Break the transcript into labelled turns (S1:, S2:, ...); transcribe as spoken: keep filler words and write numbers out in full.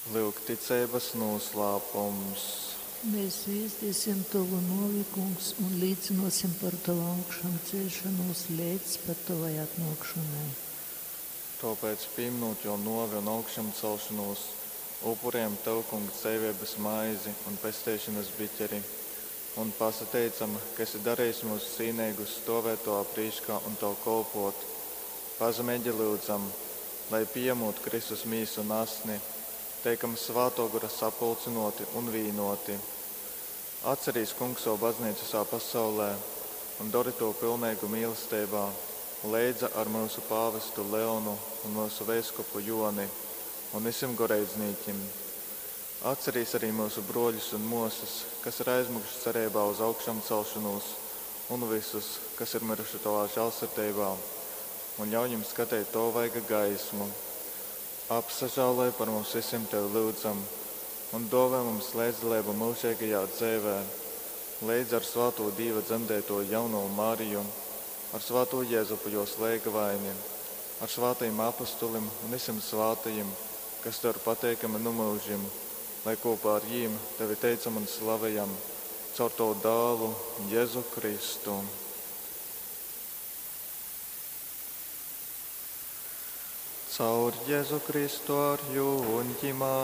S1: Lyuk ticeibas nūslāpums.
S2: Mēs zviezdisim Tavu nuovi, Kungs, un līcynuosim par Tavu augšamceļšonūs leidz pat Tovai atnuokšonai.
S1: Tōpēc, pīminūt jō nōvi un augšamcelšonūs, upurējam Tev, Kungs, dzeiveibas maizi un pesteišonas biķeri, un pasateicam, ka esi darejis myus cīneigus stōvēt Tovā prīškā un Tev kolpōt. Pazemeigi lyudzam, lai, pījamūt Kristus mīsu un asni, teikam Svātō Gora sapulcynōti un vīnōti. Atcerīs, Kungs, savu baznīcu visā pasaulē un dori to pilneigu mīlesteibā, leidza ar myusu pāvestu Leonu un myusu veiskupu Joni un visim goreidznīkim. Atcerīs arī myusu brōļus un mōsas, kas ir aizmiguši cereibā uz augšamcelšanūs, un visus, kas ir miruši Tovā žālsirdeibā, un ļauj viņim skateit Tova vaiga gaismu. Apsažāloj par mums visiem Tevi lyudzam, un dōvē mums leidzdaleibu myužeigajā dzeivē, leidz ar svātū Dīva dzemdeitoju jaunovu Mariju, ar svātū Jezupu jos leigavaini, ar svātajim apustulim un visiem svātajim, kas Tev ir pateikami nu mūžim, lai kopā ar jīm Tevi teicam un slavejam caur Tavu dālu Jēzu Kristu. Caur Jēzu Kristu ar jū un ģimā,